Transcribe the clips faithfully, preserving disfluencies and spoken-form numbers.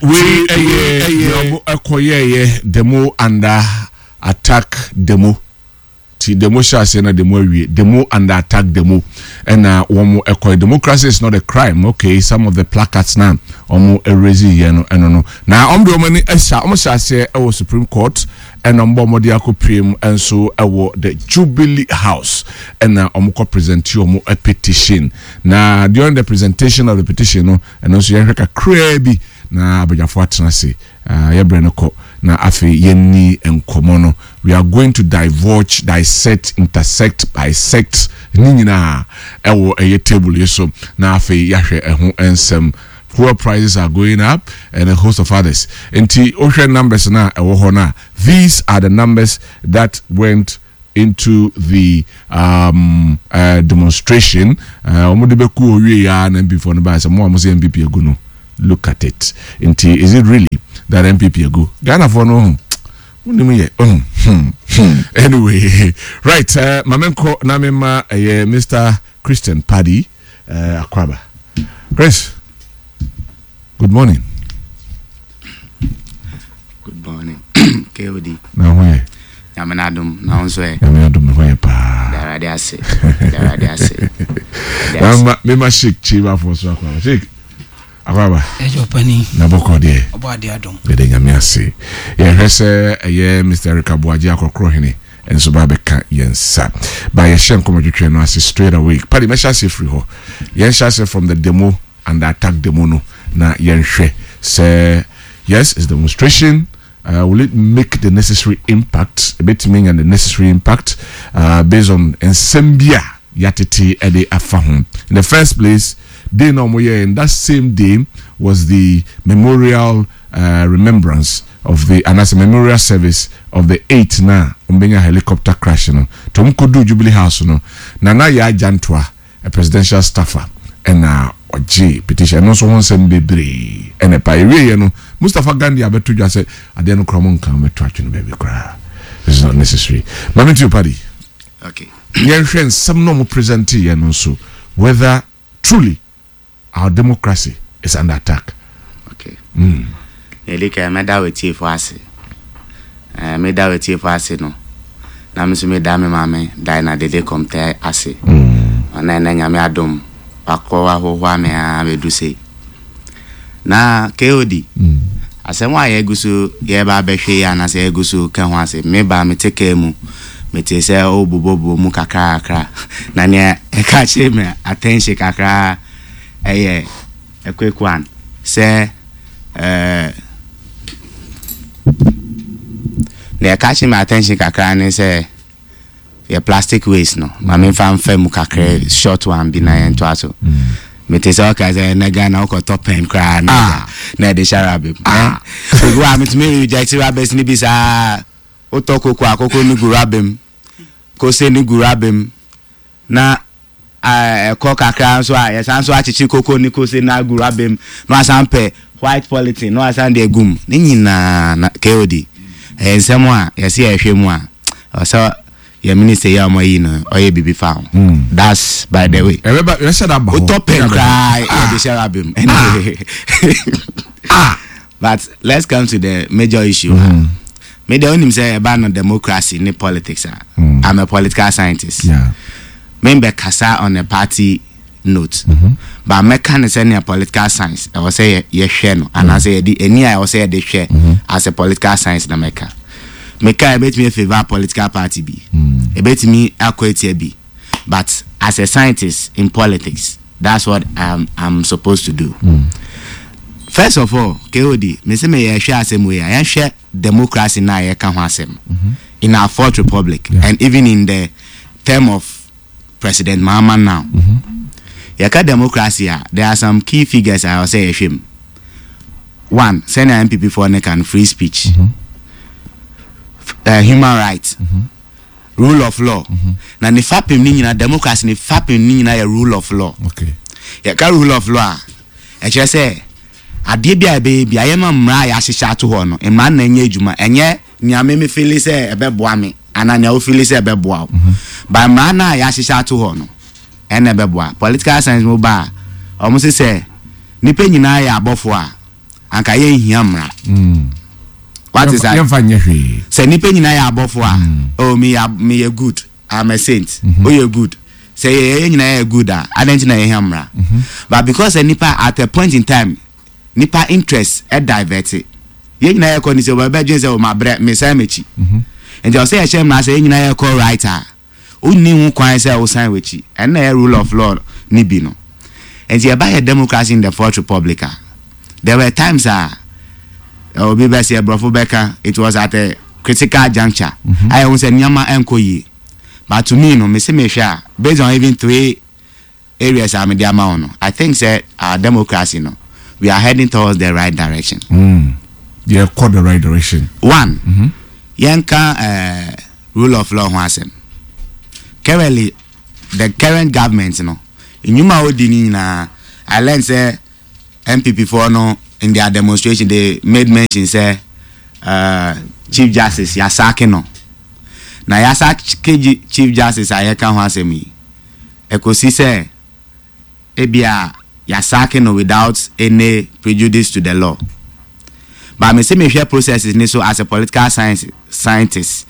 Wei ɛyɛ ɛyɛ ɔmo ɛkɔyɛɛyɛ demo under attack demo. Ti demo hyɛ aseɛ na demo awie, demo under attack demo ɛna wɔn ɛkɔyɛ. "Democracy is not a crime." Okay, some of the placards na wɔn ɛraise yɛ no, ɛno no na wɔn de wɔn ani ɛhyɛ, wɔn hyɛ aseɛ ɛwɔ Supreme Court, ɛna wɔn bɔ wɔn de akɔ piem nso ɛwɔ the Jubilee House, ɛna wɔn kɔ present wɔn petition. Na during the presentation of the petition no, ɛno nso yɛhwɛ kakraa bi na abadwafo atena ase. Yɛbrɛ no kɔ na afei yɛnni nkɔmmɔ no. We are going to divulge, dissect, intersect, bisect ne nyinaa ɛwɔ ɛyɛ table yi so na afei yɛahwɛ ɛho nsɛm. Fuel prices are going up and a host of others. Nti wohwɛ numbers na ɛwɔ hɔ no a, these are the numbers that went into the um, uh, demonstration. Wɔn de bɛku owie ya na N P P foɔ no baa sɛ mo a mo sɛ N P P egu no, look at it. Nti is it really that N P P egu? Ghanafoɔ no ho wonim yɛ oh, hmm, hmm. Anyway, right, uh, maame nkɔ na mema ɛyɛ Mister Christian Paddy uh, akwaba. Chris, good morning. Good morning, K O D. Na ho yɛ? Nyame no adom, na wo nso ɛ? Nyame adom, ho yɛ paa. Darade ase, darade ase. Mema mema Sheik Chibafoɔ so akwaba. Sheik, akwaba. Ɛyɛ ɔpani. Na bɔkɔ deɛ? Ɔbɔ ade adom. Yɛde Nyame ase. Yɛhwɛ sɛ ɛyɛ Mister Eric Aboagye Akɔkorɔ Hene nso ba bɛka yɛn nsa ba yɛhyɛ nkɔmmɔtwetwe no ase straight away. Padi, mɛhyɛ ase firi hɔ. Yɛnhyɛ ase from the demo and the attack demo no na yɛnhwɛ sɛ yes, it's demonstration. uh, will it make the necessary impact? Ɛbɛtumi anya the necessary impact uh, based on nsɛm bi a yɛatete ɛde afa ho? In the first place, day na ɔmo yɛ, in that same day was the memorial uh, remembrance of the anaasɛ memorial service of the eight na ɔmo bɛnya helicopter crash no. To ɔmo kɔdu Jubilee House no, Nana Yaa Jantuah, a presidential staffer, ɛna ɔgye petition. Ɛno nso ho nsɛm bebree ɛna ɛpa. Ewieɛ no, Mustapha Gandhi abɛto dwa sɛ adeɛ no koraa mo nka mɛto atwene baabi koraa, this is not necessary. Maame nti Padi, Okay. yɛnhwɛ nsɛm na ɔmo present yɛ no nso, whether truly our democracy is under attack. Okay. mm. Yɛdi kan, mɛda w'atiefo ase. Ɛɛ, meda w'atiefo ase no, na me nso meda me maame Diana Dede Kɔmtɛ ase. Ɔno ɛnɛ Nyame adom wakɔ ahohoa me a bɛdu sei. Na K O D, asɛm a yɛgu so yɛba abɛhwɛ yi anaasɛ yɛgu so ka ho ase, meba mete kaa mu, mete sɛ ɔbobɔbobɔ mu kakrakra, na nea ɛka kyerɛ me attention kakra ɛyɛ a quick one sɛ ɛɛ nea ɛka kyerɛ me attention kakra ne sɛ yɛ plastic waste no. Ma memfa mfa mu kakra, short one bi na yɛntoa so. Mete sɛ ɔka sɛ ɛnɛ Ghana wokɔtɔ pɛn koraa na Ah. na ɛde hyɛ rubber mu. Ah. Obi a metumi reject rubbers no bi saa. Wotɔ koko a, koko no gu rubber mu, kose no gu rubber mu, na eh, ɛkɔ kakra nso a, yɛsan so akyekyere koko ne kose no agu rubber mu, na wasan pɛ white polythene na wasan de agu mu ne nyinaa. Na K O D, ɛyɛ nsɛm a yɛsɛ yɛhwɛ mu a, ɔsɛ yɛ minister yi a ɔmo ayi no ɔyɛ biribi fa ho. That's by the way. Ɛbɛba, yɛhyɛ da ba hɔ. Wotɔ pɛn koraa, yɛde hyɛ rubber mu anyway. Ah. But let's come to the major issue. Mm. Me de, onim sɛ ɛba no democracy ne politics a, Mm. I'm a political scientist. Yeah. Me mbɛkasa on a party note, Mm-hmm. but mɛka ne sɛ political science ɛwɔ sɛ yɛ yɛhwɛ no anaasɛ yɛde ani a ɛwɔ sɛ yɛde hwɛ Mm-hmm. as a political science. Na mɛka mɛka ebetumi favour political party bi, Mm. ebetumi akɔ etia bi, but as a scientist in politics, that's what i'm i'm supposed to do. Mm. First of all, K O D, me sɛ me yɛhwɛ asɛm wei a, yɛhwɛ democracy na yɛka ho asɛm in our Fourth Republic Yeah. and even in the term of President Mahama now. Yɛka democracy a, there are some key figures a ɛwɔ sɛ yɛhwɛ mu. One, sɛnea N P P foɔ ne kan, free speech, uh, human rights, rule of law. Na ne fapem ne nyinaa, democracy ne fapem ne nyinaa yɛ rule of law. Okay. Yɛka rule of law a, ɛkyerɛ sɛ adeɛ bi a ɛbɛyɛ bi a, yɛma mmara a yɛahyehyɛ ato hɔ no, mmara no na ɛnyɛ adwuma. Ɛnyɛ nea me me feel sɛ ɛbɛboa me anaa nea wo feel sɛ ɛbɛboa wo, ba mmara no a yɛahyehyɛ ato hɔ no ɛna ɛbɛboa. Political science mu ba a, ɔmo se sɛ nipa nyinaa yɛ abɔfoɔ a Anka yɛnhia mmara. What is that? Yɛmfa nyɛ hwee. Sɛ nipa nyinaa yɛ abɔfo a, oh, meyɛ meyɛ good, I'm a saint, oyɛ good, sɛ yɛ yɛ nyinaa yɛ good a, adan nti na yɛhia mmara? But because sɛ nipa at a point in time nipa interest ɛ divert, yɛn nyinaa yɛ kɔ ni sɛ ɔbɛdwen sɛ ɔma brɛ mesan m'akyi, nti ɔsɛ yɛhyɛ mmara sɛ yɛn nyinaa yɛ kɔ right a, wonni ho kwan sɛ wosan w'akyi. Ɛno na yɛ rule of law ni bi no. Nti yɛba yɛ democracy in the Fourth Republic a, there were times a obi bɛ sɛ aborɔfo bɛka it was at a critical juncture a yɛhu sɛ nneɛma ɛnkɔ yie. But to me no, mese mehwɛ a, based on even three areas a mede ama wo no, I think sɛ our democracy no, we are heading towards the right direction. Mm. Yɛkɔ the right direction. One, yɛnka uh, rule of law ho asɛm. Currently, the current government no, nnwuma a odi ni nyinaa, I learn sɛ N P P foɔ no, in their demonstration they made mention sɛ uh, Chief Justice yɛasack no. Na yɛasack Chief Justice a yɛka ho asɛm yi, ɛkɔsi sɛ ebia yɛasack no without any prejudice to the law. But me sɛ mehwɛ processes ni so as a political science scientist,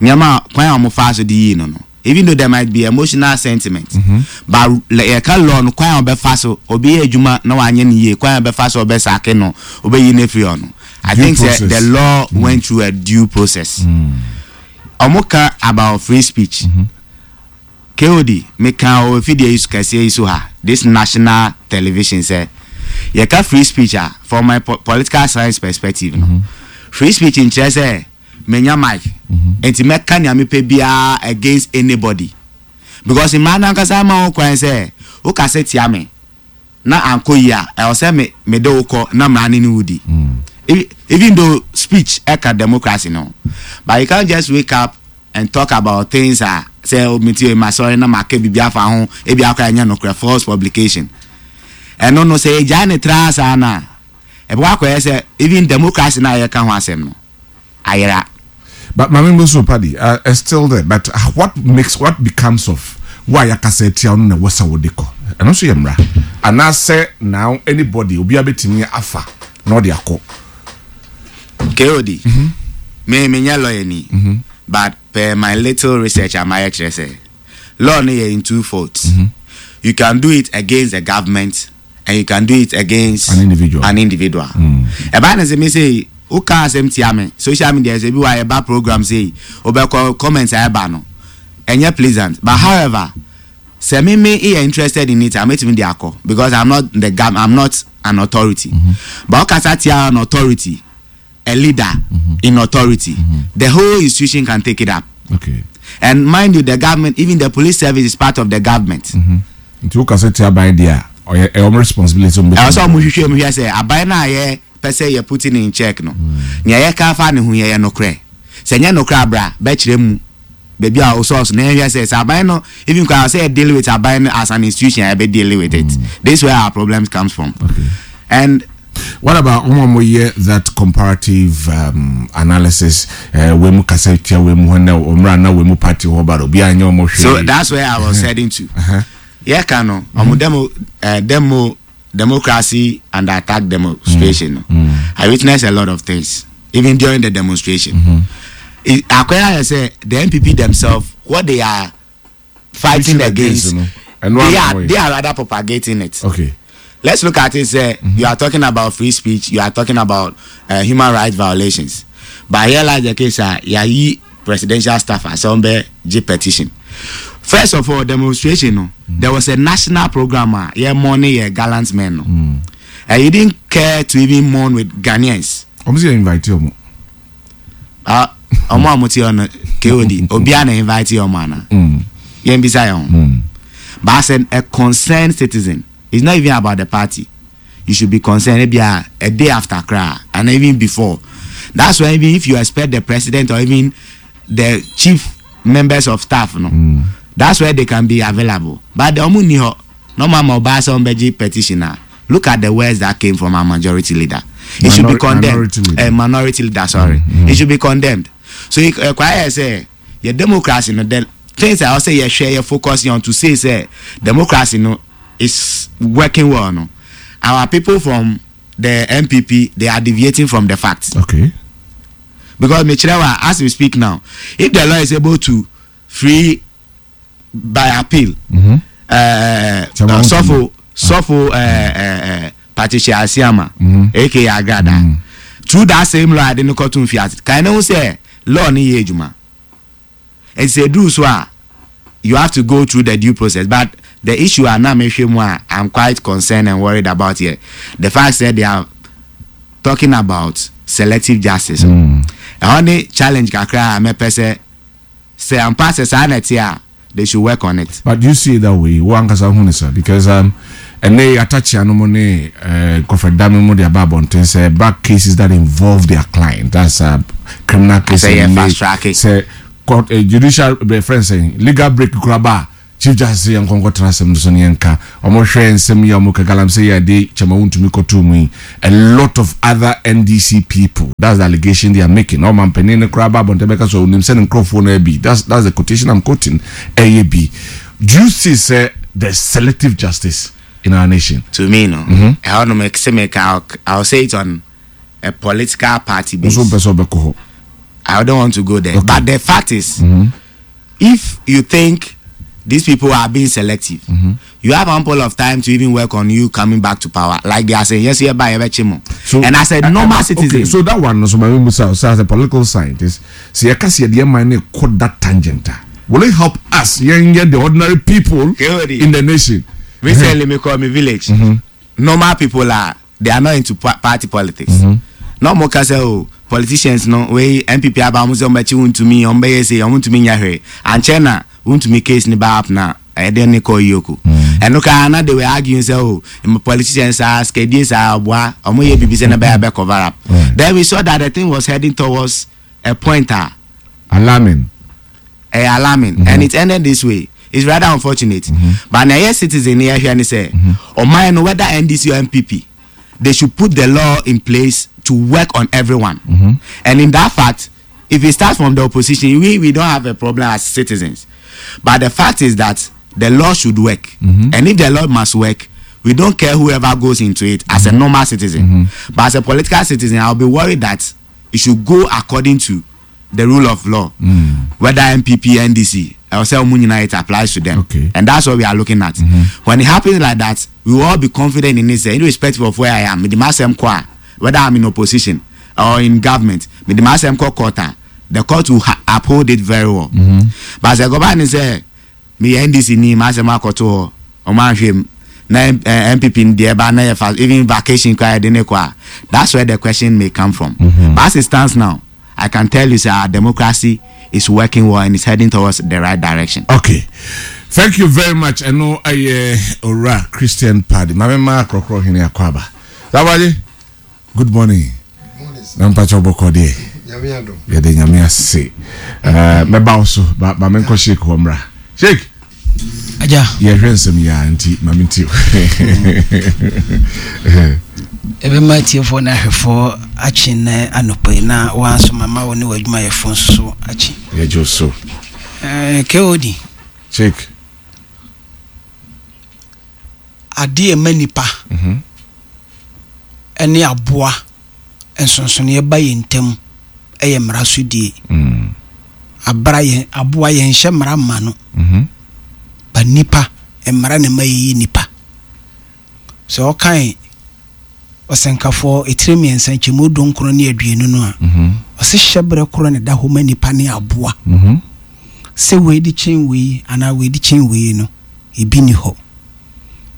nneɛma kwan a wɔfa so de yii no no even though there might be emotional sentiment mm -hmm. but yɛka law no, kwan a ɔbɛfa so obi yɛ adwuma na wanyɛ no yie, kwan a ɔbɛfa so ɔbɛsack no, ɔbɛyi no afiri hɔ no, I think sɛ the law mm. went through a due process. Ɔmo mm. ka about free speech. mm -hmm. K O D, meka wɔ fidie yi so kɛseɛ yi so ha, this national television, sɛ yɛka free speech a, from my po political science perspective no, mm -hmm. free speech nkyerɛ sɛ menya mic nti mɛka nea mepɛ biara against anybody, because mmaa nankasa ma wo kwan sɛ wokasa tia me na ankɔ yi a, ɛwɔ sɛ me mede wo kɔ na mmara ne ne wo di. Even though speech ɛka democracy no, but you can't just wake up and talk about things a sɛ meti ma sɔre na maka biribi afa ho, ebi akɔ ɛnyɛ nokorɛ, false publication. Ɛno no, sɛ yɛgyaa ne tra saa na ɛbɛkɔ akɔyɛ sɛ even democracy na yɛka ho asɛm no ayera. But Mami Musu Paddy, uh, is still there. But uh, what makes, what becomes of why akasa etia no na wasa wode kɔ? Ɛno nso yɛ mmara. Anaasɛ now anybody, obi abɛtumi afa na ɔde akɔ? K O D, mm-hmm. me me nyɛ lawyer ni, mm-hmm. but per my little research amayɛ kyerɛ sɛ law no yɛ in two folds. Mm-hmm. You can do it against the government and you can do it against an individual. An individual. Ɛbaa ne sɛ me sɛ woka asɛm tia me social media, sɛ bi wa yɛba program sɛ wobɛkɔ comment a ɛba no ɛnyɛ pleasant, but however, sɛ me me yɛ interested in it a, mɛtumi de akɔ because I'm not the gov I'm not an authority mm -hmm. But wokasa tia an authority, a leader mm -hmm. in authority, mm -hmm. the whole institution can take it up. Okay. And mind you, the government, even the police service is part of the government. Nti wokasa tia aban deɛ a, ɔyɛ ɛyɛ ɔmo responsibility ɔmo. Ɛwɔ sɛ ɔmo hwehwɛ mu hwɛ sɛ aban no a yɛ pɛ sɛ yɛ putting in check no, nea yɛka fa ne ho yɛ yɛ nokorɛ. Sɛ nyɛ nokorɛ abra bɛkyerɛ mu baabi a ɔsɔɔso na yɛhwɛ sɛ sɛ aban no, even kwa sɛ yɛ deal with aban no as an institution a, yɛbɛ deal with it. This is where our problems comes from. Okay. And what about ɔmo a mo yɛ that comparative um, analysis, uh, wei mu kasa tia wei mu hɔ na ɔmra na wei mu party hɔ ba obi anya ɔmo hwee? So that's where I was heading to. Yɛka no, ɔmo demo uh, demo democracy under attack demonstration no, I witnessed a lot of things even during the demonstration. Akɔyɛ ayɛ sɛ the N P P themselves, what they are fighting against, no. they are they are rather propagating it. Okay. Let's look at it. Say mm-hmm. you are talking about free speech, you are talking about uh, human rights violations, but here lies the case. Uh, yayi presidential staff asɔnbɛ gye petition. First of all, demonstration no, mm-hmm. there was a national program a yɛ mourning yɛ gallant men no, mm. and you didn't care to even mourn with Ghanaians. Ɔmo sɛ yɛ invite ɔmo. Ɔmo a mo ti hɔ no, K O D, obiara na invite ɔmo ana? Yɛn bisa yɛn ho. But as a, a concerned citizen, it's not even about the party, you should be concerned. Maybe a, a day after cry and even before. That's why even if you expect the president or even the chief members of staff no, mm. that's where they can be available. But the ɔmo ni hɔ na ɔmo ama ɔbaa sɛ ɔmo bɛgye petition a, look at the words that came from our majority leader. It should be condemned. Minority leader. Uh, minority leader, sorry. Mm. It should be condemned. So ɛkwa yɛ sɛ yɛ democracy no, the things I say yɛ hwɛ, yɛ focus on to say sɛ democracy no is working well no, our people from the N P P, they are deviating from the facts. Okay because mekyerɛ wa, as we speak now, if the law is able to free by appeal mm-hmm. uh, Chairman. sɔfo sɔfo uh, uh, uh, Patricia Asiama, Mhm. A K A Agrada, Mm. through that same law ade ne kɔto nfiase kan ne ho sɛ law ne yɛ adwuma, nti sɛ eduru so a, you have to go through the due process. But the issue a na mehwɛ mu a I'm quite concerned and worried about here, the fact that they are talking about selective justice, Mm. ɛhɔ ne challenge kakra a mɛpɛ sɛ sɛ ampa sɛ saa na ɛte a, they should work on it. But you see it that way, wo ankasa hu ne sa, because um ɛnɛ atakyia no mu ne uh, kɔfɛdame mu de aba abɔnten sɛ back cases that involve their client, that's uh, criminal case. Sɛ yɛ ne- fast track it. Sɛ court, uh, judicial uh, friend saying legal break kura ba, Chief Justice yɛn nkɔnkɔ tena asɛm no so ne yɛn ka ɔmo hwɛ nsɛm yi a ɔmo ka galamsey yi a de Chairman Wontumi kɔtoo mu yi, a lot of other N D C people, that's the allegation they are making. Ɔmo mpanin ne kura ba abɔnten bɛka so onim sɛ ne nkurɔfoɔ no bi, that's that's the quotation I'm quoting. Ɛyɛ bi, do you see sɛ the selective justice in our nation? To me no, ɛhɔ nom sɛ meka, I'll, I'll say it on a political party base. Nso mpɛ sɛ ɔbɛkɔ hɔ. I don't want to go there. Okay. But the fact is, if you think these people are being selective, you have ample of time to even work on you coming back to power. Like they are saying, yes, yeah, by So and as a normal uh, citizen, okay, so that one, so my musa, so as a political scientist, sɛ yɛka sɛ yɛde ɛman ne kɔ that tangent a, will it help us, yɛn yɛ the ordinary people Kehodi. in the nation? Recently, me call me village. Normal people are, they are not into pa- party politics. Na ɔmo ka sɛ, o, politicians no wei N P P aba, ɔmo sɛ ɔmo akyi Wontumi, ɔmo bɛyɛ sɛ ɔmo ntumi nya hwee ankyɛn na Wontumi case ni ba up na ɛde ne kɔ yoko. Ɛno koraa na they were arguing sɛ, o, mm, politicians saa skedie saa ɔboa ɔmo yɛ bibi sɛ ne bɛyɛ bɛ cover up. Right. Then we saw that the thing was heading towards a point a alarming. Ɛyɛ alarming, mm -hmm. and it ended this way. It's rather unfortunate mm -hmm. But na ɛyɛ citizen ni ɛhwɛ ni sɛ ɔman no, whether N D C or N P P, they should put the law in place to work on everyone mm -hmm. And in that fact, if it starts from the opposition, we we don't have a problem as citizens. But the fact is that the law should work mm -hmm. And if the law must work, we don't care whoever goes into it as mm -hmm. a normal citizen mm -hmm. But as a political citizen, I will be worried that it should go according to the rule of law mm. whether N P P, N D C, ɛwɔ sɛ ɔmo nyinaa, it applies to them. Okay. And that's what we are looking at mm -hmm. When it happens like that, we will all be confident in it sɛ irrespective of where I am, mede m'asɛm kɔ a, whether I'm in opposition or in government, mede m'asɛm kɔ court a, the court will ha uphold it very well mm -hmm. But sɛ gɔba ni sɛ meyɛ N D C ni, m'asɛm akɔto hɔ, ɔmo ahwɛ mu na eh, N P P ni deɛ ba na yɛ fa even vacation kora yɛde ne kɔ a, that's where the question may come from mm -hmm. But as it stands now, I can tell you sɛ our democracy is working well and is heading towards the right direction. Okay, thank you very much. Ɛno ɛyɛ Owura Christian Paddy. Maame maa korɔkorɔ hene akɔ aba sabaji, good morning. Na mpakyɛ wobɔkɔ deɛ? Nyame adom. Yɛde Nyame ase. ɛɛ mɛba wo so ba ba menkɔ Sheik hɔ mmra. Sheik. Agya. Yɛhwɛ nsɛm yi a, nti maame nti. Ɛbɛma atiefoɔ ne ahwɛfoɔ akye nnɛ anɔpa yi, na wanso mama wo ne w'adwumayɛfoɔ nso so akye. Yɛgye wo so. Eh, K O D. Sheik. Adeɛ ɛma nipa ɛne aboa nsonsonoeɛ ba yɛ ntam ɛyɛ mmara so die. Mm. Abra yɛn aboa yɛnhyɛ mmara mma no, Mhm. ba nipa, mmara ne ma yɛyɛ nipa. Sɛ ɔkan Ɔsɛnkafoɔ ɛtire mmiɛnsa nkyɛmu dunkron ne aduonu no a, Mhm. ɔse hyɛberɛ korɔ ne da hɔ ma nipa ne aboa. Mhm. Sɛ wei de kyɛn wei anaa wei de kyɛn wei no, ebi ni hɔ.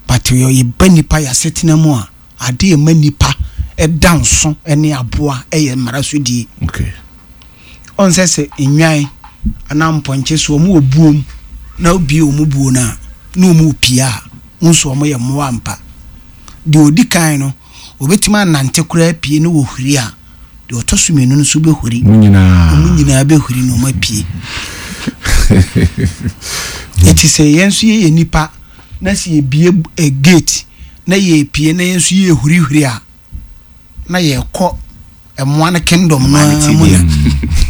But yɛ yɛba nipa yɛasetena mu a, ade ɛma nipa ɛda nso ne aboa ɛyɛ mmara so die. Okay ɔn sɛ sɛ nnwan anaa mpɔnkye so, ɔmo wɔ buom na obie ɔmo buo no a, na ɔmo pie a, nso ɔmo yɛ mmoa mpa. Deɛ odi kan no obetumi anante koraa pie na wɔhuri a, deɛ ɔtɔ so mmienu no nso bɛhuri. Mo nyinaa. Ɔmo nyinaa bɛhuri na ɔmo apue. Eti sɛ yɛn nso yɛyɛ nipa na sɛ yɛbie ɛ gate na yɛpie na yɛn nso yɛhurihuri a, na yɛkɔ mmoa no kingdom no ara mu, na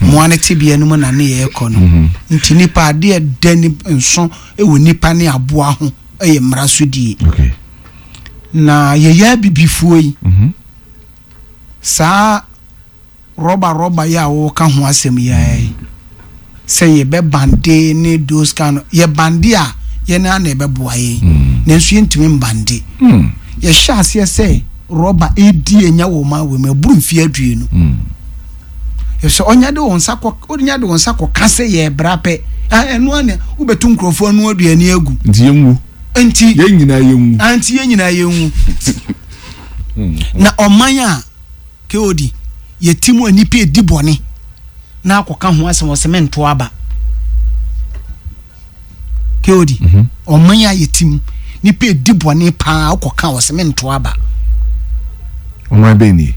mmoa no tebea no mu na ne yɛrekɔ no. Nti nipa, adeɛ da ni nso wɔ nipa ne aboa ho yɛ mmara so die. Okay na yɛyɛ abibifoɔ yi, Mhm. Saa rɔba rɔba yi a wɔka ho asɛm yi ara yi, sɛ yɛbɛ ban ne those kind of, yɛ ban a, yɛn ara na ɛbɛboa yɛn, nanso yɛntumi mban. Mm. Yɛhyɛ aseɛ sɛ rɔba edi enya wɔ ɔman wɔ mu ɛburu mfeɛ aduonu. Sɛ ɔnya de wɔn nsa kɔ, ɔnya de wɔn nsa kɔ ka sɛ yɛ bra pɛ, ah, ɛno ana wobɛtu nkurɔfoɔ ano aduane agu. Nti yɛnwu. Nti yɛn nyinaa yɛnwu. Ah, nti yɛn nyinaa yɛnwu. Na ɔman a kod yɛti mu a nipa edi bɔne na akɔka ho asɛm, ɔsɛ mɛnto aba. Kod ɔman a yɛti mu nipa edi bɔne paa akɔka, ɔsɛ mɛnto aba. Ɔman bɛn nie?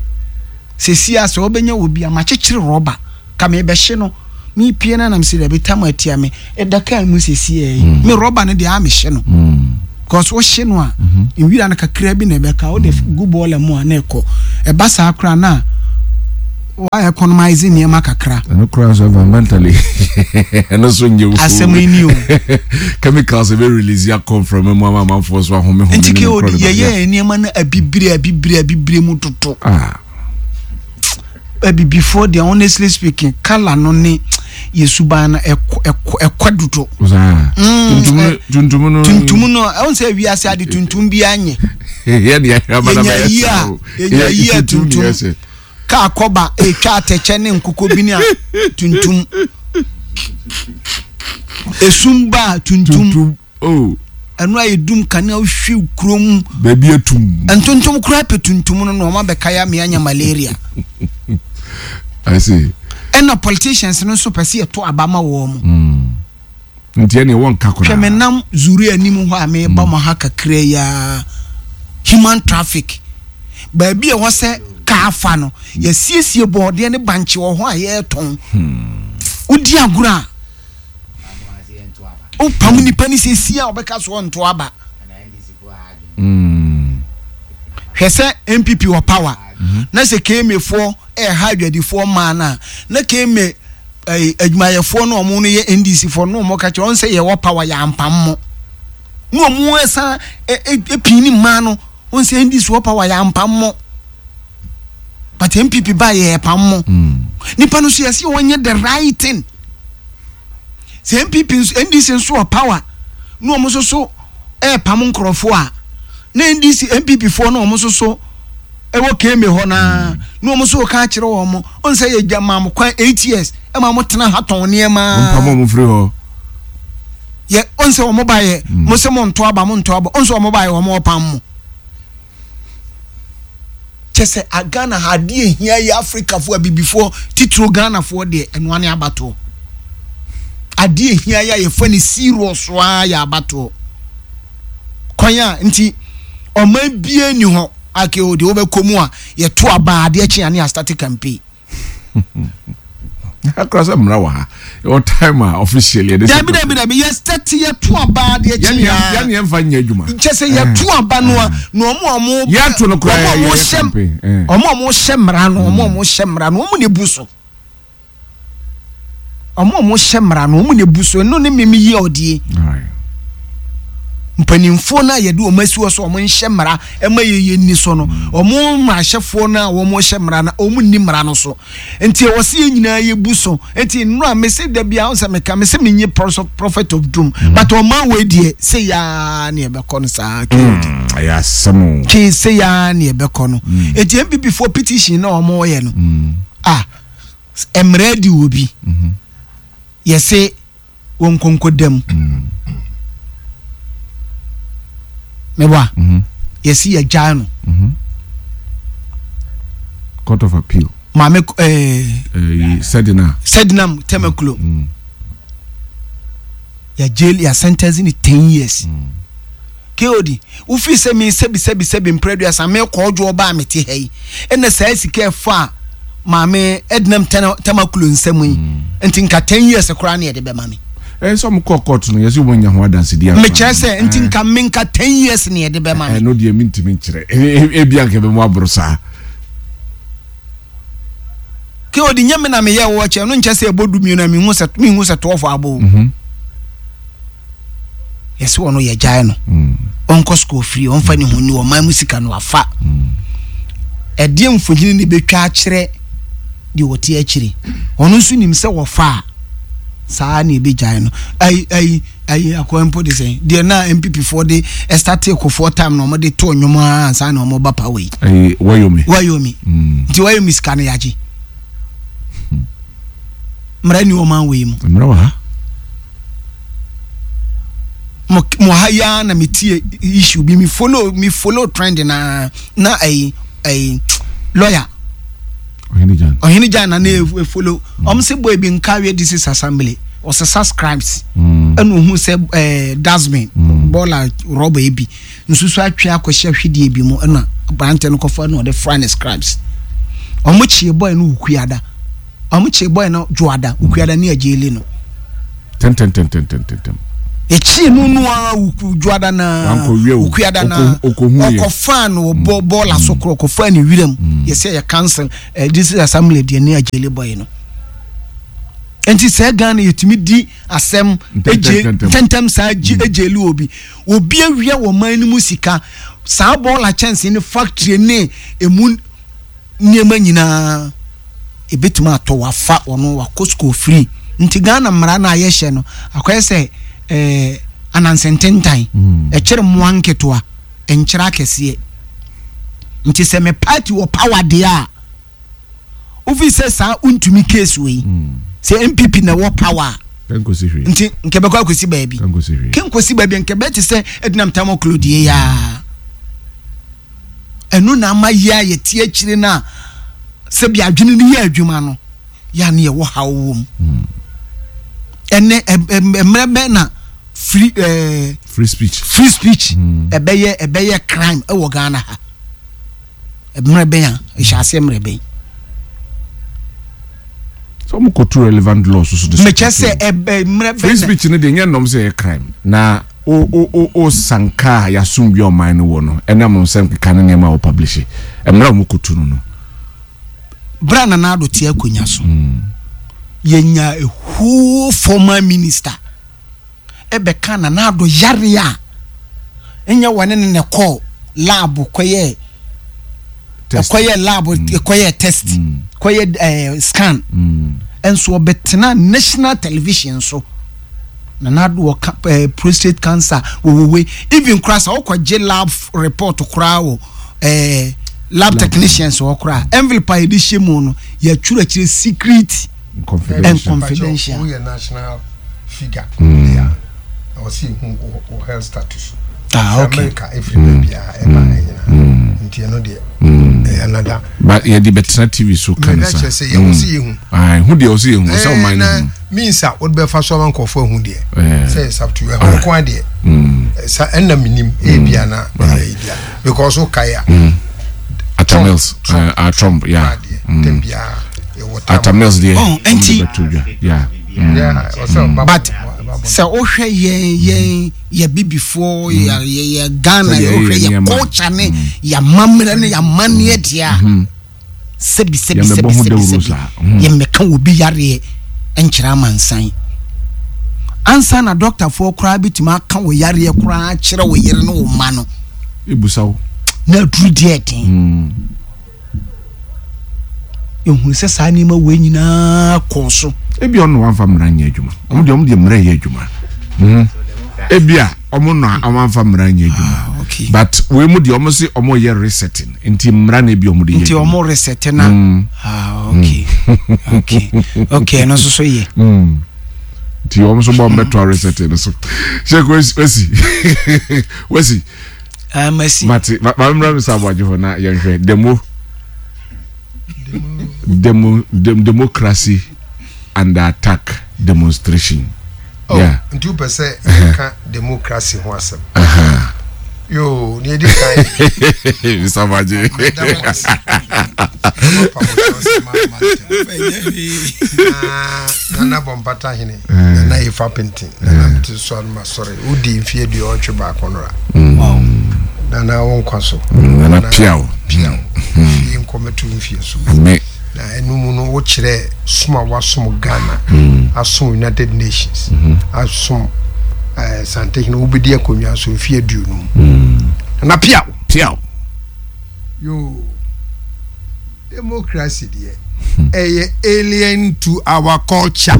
Sɛsi a sɛ wobɛnya wɔ bi a makyekyere rɔba ka mebɛhye no, mepie no anam sɛ dabi tam atia me ɛda kaa mu. Sɛsi yi me rɔba no deɛ a mehye no, because wohye no a, nwira no kakra bi na ɛbɛka wode gu bɔɔla mu a na ɛkɔ. Ɛba saa koraa na wa economize nneɛma kakra. Ɛno koraa nso environmentally ɛno nso nyɛ wo. Asɛm yi ni o. Chemicals ɛbɛ release akɔ mframa mu ama amanfoɔ so ahome home. Nti ke odi yɛyɛ nneɛma no abibire abibire abibire mu toto. Ah. Abibifoɔ deɛ, honestly speaking, colour no ne yɛ suban no ɛkɔ ɛkɔ ɛkɔ dodo. Saa. Mm, tuntum no, tuntum no. Tuntum no, ɛwɔn sɛ wiase ade tuntum bi anyɛ. Yɛ deɛ ahwɛ Yɛnya yi a, yɛnya yi a, tuntum kaa kɔba etwa atɛkyɛ ne nkokɔ bi ne a tuntum, esum ba a tuntum. Tuntum oh. Ɛno a yɛdum kanea, wohwi kurom. Baabi atum. Ntontom koraa pɛ tuntum no na ɔma bɛka ya me anya malaria. I see. Ɛna politicians no nso pɛ sɛ yɛto aba ma wɔn mo. Nti ɛne wɔn nka koraa. Hwɛ, me nam zuri anim hɔ a meba mo ha kakra yi a, human traffic baabi a ɛwɔ sɛ kaa fa no, yɛsiesie bɔɔdeɛ ne bankye wɔ hɔ a yɛretɔn. Wodi agorɔ a, wopam nipa ne sɛsi a wɔbɛka so ɔnto aba. Mm. Hwɛ sɛ N P P wɔ power na sɛ K M A foɔ ɛɛha adwadifoɔ mmaa no a, na K M A ɛɛ adwumayɛfoɔ no, ɔmo no yɛ N D C foɔ no, ɔmo ka kyerɛ ɔn sɛ yɛwɔ power, yɛ ampam mo, na ɔmo ɛsan ɛ ɛ epii ne mmaa no ɔn sɛ N D C wɔ power, yɛ ampam mo, but N P P ba, yɛ pam mo. Nipa no so yɛsi wɔnyɛ the right thing. Sɛ N P P nso, N D C nso wɔ power na ɔmo nso so ɛɛpam nkorɔfoɔ a, na N D C N P P foɔ na ɔmo nso so ɛwɔ K M A hɔ naa na ɔmo nso ka akyerɛ wɔn mo ɔn sɛ yɛ gya maa mo kwan eight years ɛma mo tena ha tɔn nneɛma. Mpam ɔmo firi hɔ. Yɛ ɔn sɛ ɔmo ba yɛ mo sɛ mo nto aba, mo nto aba, ɔn sɛ ɔmo ba yɛ, ɔmo ɔpam mo. Kyɛ sɛ a Ghana ha, adeɛ ehia yɛ Afrikafoɔ, abibifoɔ titiro, Ghanafoɔ deɛ, ɛnoa ne abatoɔ. Adeɛ ehia yɛ a yɛfɛ ne serious a yɛ abatoɔ kwan a nti ɔman bie ni hɔ ake o deɛ wobɛkɔ mu a yɛto aba, adeɛ kye a ne yɛastart campaign. Akora sɛ mmara wɔ ha, ɛwɔ time a officially yɛde. Dabi, dabi, dabi, yɛstart, yɛto aba, adeɛ kye yɛne a yɛne yɛmfa nyɛ adwuma. Kyɛ sɛ yɛto aba no a, na ɔmo a ɔmo Yɛato no koraa, ɔmo a ɔmo yɛyɛ hyɛ campaign, eh. ɔmo a ɔmo hyɛ mmara no, ɔmo a ɔmo hyɛ mmara no, ɔmo na ebu so. Ɔmo a ɔmo hyɛ mmara no, ɔmo na ebu so. Ɛno ne mímí yi ɔdie. Alright. Mpanimfoɔ no a yɛde wɔn asi hɔ so ɔmo nhyɛ mmara ɛma yɛ yɛ ni so no, ɔmo mmarahyɛfoɔ no a wɔn hyɛ mmara no, ɔmo nni mmara no so, nti ɛwɔ sɛ yɛn nyinaa yɛbu so. Nti nnura mese dabi a sɛ meka mese menye prophet of doom, but ɔman wei deɛ, sɛ yaa ne yɛbɛkɔ no saa kee. Mm, ɛyɛ asɛm o. Kee sɛ yaa ne yɛbɛkɔ no. Nti N P P foɔ petition na ɔmo yɛ no a, mmerɛ di wɔ bi yɛse wɔn nkonko dam mɛbɔ a yɛsi yɛgyae no. Court of Appeal. Maame ɛɛ. Ɛɛ Sedina. Sedinam Tamakloe, yɛ jail, yɛ sentence ni ten years. Kod wofi sɛ mi sɛbi sɛbi sɛbi mprɛduasa mi kɔ ɔdwo ɔbaa mi te ha yi, ɛna saa sika ɛfa a maame Ednam Tamakloe nsɛm yi nti nka ten years koraa ne yɛde bɛma mi. Ɛɛ sɛ ɔmo kɔ court no, yɛsɛ ɔmo nya ho adansedi afa. Mekyerɛ sɛ nti nka mi nka ten years ne yɛde bɛma mi. Ɛno deɛ mi ntumi nkyerɛ, ebi anka bɛ mu aboro saa. Ke odi nye mi na mi yɛ wɔ kyɛ no nkyɛ sɛ ɛbɔ du mmienu a mi hu sɛ mi hu sɛ twelve abɔ o. Yɛsɛ wɔn yɛ gyae no, ɔnkɔ school free, ɔnfa ne ho ni ɔman mu sika no afa. Ɛdeɛ mfonyini ne bɛtwa akyerɛ deɛ wɔte akyire. Ɔno nso nim sɛ wɔfa a saa na ebɛgyae no. Ayi ayi ayi, akɔa mpo de sɛn deɛ na N P P foɔ de ɛstart Kufuor time na wɔde to nnwom a ansa na wɔn ba power yi. Ɛyi Woyome. Woyome. Nti Woyome sika no yagye. Mmara ni ɔman wei mu. Mmerɛ wɔ ha. Mo mo ha yi ara na me tie issue bi, mi follow mi follow trend na na ɛyi ɛyi lawyer Ɔhene Gyan. Ɔhene Gyan na ne e follow. Ɔmo sɛ boy bi nkawie district assembly, ɔsesa scripts, ɛna ohun sɛ ɛɛ dustbin bɔɔla rɔba yi bi nsusu atwe akɔhyɛ hwedeɛ bi mu, ɛna aberante no kɔfa ɛna ɔde fra ne scripts. Ɔmo kyie boy no Wukuada, ɔmo kyie boy no Dwoada, Wukuada ne agyeli no. Tɛntɛntɛntɛntɛntɛm. Ekyie no no ara wuku Dwoada na Wankɔwie o. Wukuada na Ɔkɔ- ɔkɔhu yɛ. Ɔkɔfaa no wɔ bɔ bɔɔla so korɔ, ɔkɔfaa ne wiram, yɛsɛ yɛ cancel ɛɛ district assembly deɛ ne agyeli boy no. Nti sɛ Ghana yɛtumi di asɛm egye Ntɛntɛntɛntɛm. ntɛntɛm saa gye egyeli obi obi awia wɔ man no mu sika saa, bɔɔla kyɛnsee ne factory ne emu nneɛma nyinaa ebetumi atɔ, wafa ɔno wakɔ school free. Nti Ghana mmara no a yɛhyɛ no akɔyɛ sɛ ɛɛ anansententan, ɛkyerɛ mmoa nketewa, nkyerɛ akɛseɛ. Nti sɛ me party wɔ power deɛ a, wofi sɛ saa ntumi case wei sɛ N P P na ɛwɔ power a, Kɛnkosi hwee. Nti nkɛ bɛkɔ akɔsi baabi. Kɛnkosi hwee. Kɛnkɔsi baabi, nkɛ bɛɛ te sɛ Edinam Tamakloe deɛ yaa. Ɛno na ama yɛ a yɛte akyire no a, sɛbi, adwene no yɛ adwuma no yɛ a ne yɛwɔ haw wɔ mu. Ɛnɛ mmerɛ bɛn na free ɛɛ free speech. Free speech ɛbɛyɛ ɛbɛyɛ crime ɛwɔ Ghana ha? Mmerɛ bɛn a ɛhyɛ aseɛ, mmerɛ bɛn? Sɛ ɔmo kɔtu relevant laws so de Mekyɛ sɛ ɛbɛ mmerɛ free bɛn na speech no deɛ, nyɛ nnɔm sɛ ɛyɛ crime na o o o o sanka a yasum bi a ɔman no wɔ no, ɛnam nsɛm keka ne nneɛma a wɔpublish, mmerɛ a ɔmo kɔtu no no. Bra Nana Addo te akonnwa so, yɛnya a whole former minister ɛbɛka Nana Addo yare a ɛnyɛ wɔne ne ne kɔɔ lab kɔyɛ test. Ɛkɔyɛ lab, ɛkɔyɛ test, kɔyɛ ɛɛ scan. Mm. Ɛnso ɔbɛtena national television so, Nana Addo wɔ ka ɛɛ prostate cancer wɔwɔwe. Even koraa sɛ ɔkɔgye lab report koraa wɔ ɛɛ lab technicians wɔ koraa, envelope a yɛde hyɛ mu no, yɛatwerɛ akyerɛ secret confidential. And confidential. Woyɛ national figure yeah, ɛwɔ sɛ yɛhu wo- wo health status. Ah, Sɛ okay. America ɛfiri baabiaa ɛba ɛnyina, nti ɛno deɛ ɛyɛ another. But yɛde bɛtena T V so ka ne Mɛka sa. kyerɛ sɛ yɛwɔ sɛ yɛhu. Ayi, hu deɛ ɔsɛ yɛhu, ɔsɛ ɔman no na hu. Means a wode bɛfa so ama nkɔfoɔ ahu deɛ Eh. sɛ it's up to you. Ɛho nko adeɛ sa ɛnna menim ebia na ɛyɛ bia because wokae a Atta Trump, Mills. Trump. uh, uh, Trump, yeah. Adeɛ tɛm biara yɛwɔ tam. Atta Mills deɛ, Oh, ɔmo de nti- bɛto dwa, yeah. Mm. Yeah, ɔsɛ ɔba But ɔba bɔ- sɛ wohwɛ yɛn yɛn yɛ bibifoɔ, yɛ yɛ yɛ Ghana, Sɛdeɛ wohwɛ yɛyɛ yɛ nneɛma. culture ne yɛ amammerɛ ne yɛ amanneɛ deɛ a, sɛbi sɛbi Yɛmmɛbɔ sɛbi ho sɛbi dawuro sɛbi saa. Mm. yɛmmɛka wɔ bi yareɛ nkyerɛ amansan ansa na dɔktafoɔ koraa bɛtumi aka wɔ yareɛ koraa kyerɛ wo yere ne wo mma no. Ebusa wo. Na aduru deɛ ɛden. Mm. Ehunu sɛ saa nneɛma wei nyinaa kɔɔ so. Ebi ɔno wamfa mmara nyɛ adwuma, ɔmo deɛ ɔmo deɛ mmara yɛ adwuma. Mhm. Ebi a ɔmo no a ɔmo amfa mmara nyɛ adwuma. Ah, okay. But wei mu deɛ, ɔmo se ɔmo yɛ resetting, nti mmara na ebi ɔmo de yɛ Nti adwuma. ɔmo reset na Mm. ah, okay okay okay ɛno nso so yɛ. Mm. Nti ɔmo nso bɔ ɔmo bɛto resetting no so. Sheik wesi wesi wesi. Ah, masi. Mate ma ma mmra mi sa abɔgye hɔ na yɛnhwɛ demo demo dem democracy under attack demonstration. Oh, Yeah. nti wopɛ sɛ yɛka democracy ho asɛm? Uh-huh. Yo, ne yɛdi kan Mister Abɔgye. meda mo ase. Ɛma pa mo kyɛw sɛ ma- ma ntɛm. Na Nana Bɔmpata hene, Nana Efa Penten, Nana mete so a no masɔre wodi mfeɛ aduɔwɔtwe baako no ra. Wow. Nana, wo nkwa so. Nana piaw. Piaw fie nkɔmɛto mfie so. Ame. Na ɛno mu no, wokyerɛ som a wasom Ghana, asom United Nations, asom eh, Santehene. Wobɛdi akonnwa so mfeɛ aduonum. Nana, piaw. Piaw. Yo. Democracy deɛ, ɛyɛ alien to our culture,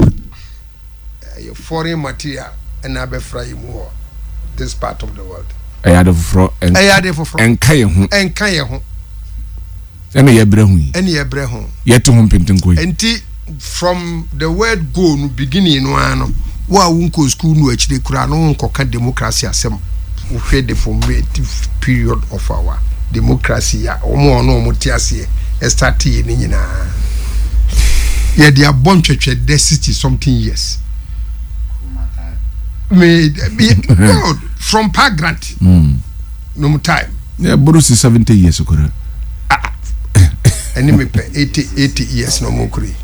ɛyɛ foreign material ɛna abɛfra yi mu wɔ this part of the world. Ɛyɛ ade foforɔ. Ɛyɛ ade foforɔ. Ɛnka yɛn ho. Ɛnka yɛn ho. Ɛna yɛbrɛ ho yi. Ɛne yɛbrɛ ho. Yɛte ho mpentenko yi. Nti from the word go no, beginning no ara no, wo a wonkɔ school no akyire koraa no, wonkɔka democracy asɛm. Wohwɛ the formative period of our democracy a wɔn a ɔno wɔn te aseɛ ɛstart yɛ ne nyinaa, yɛde abɔ ntwɛtwɛ dɛ sixty something years me me God, from Park Grant Mm. no mu time. Yeah, boro si seventy years koraa. Ɛne mepɛ eighty eighty years na ɔmo kuro yi.